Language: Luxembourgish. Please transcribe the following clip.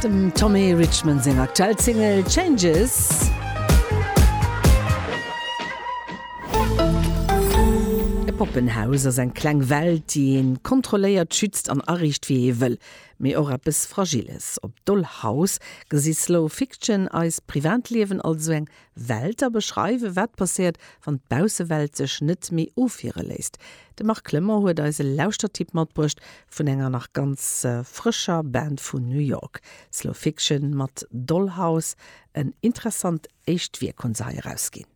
Dem Tommy Richman seng aktuell Single Changes. E Poppenhaus ass eng kleng Welt, déi een kontrolléiert, schützt an ariicht wéi ee wëll. Mee och eppes Fragiles. Op Dollhouse gesi Slow Fiction eist Privatliewen als esou eng Welt a beschreiwen, wat passéiert, wann d'Baussewelt sech net méi ofwiere léisst. De Marc Clement huet eis e Lauschtertipp matbruecht vun enger nach ganz frëscher Band vun New York. Slow Fiction mat Dollhouse, en interessant éischt Wierk hunn se hei erausginn.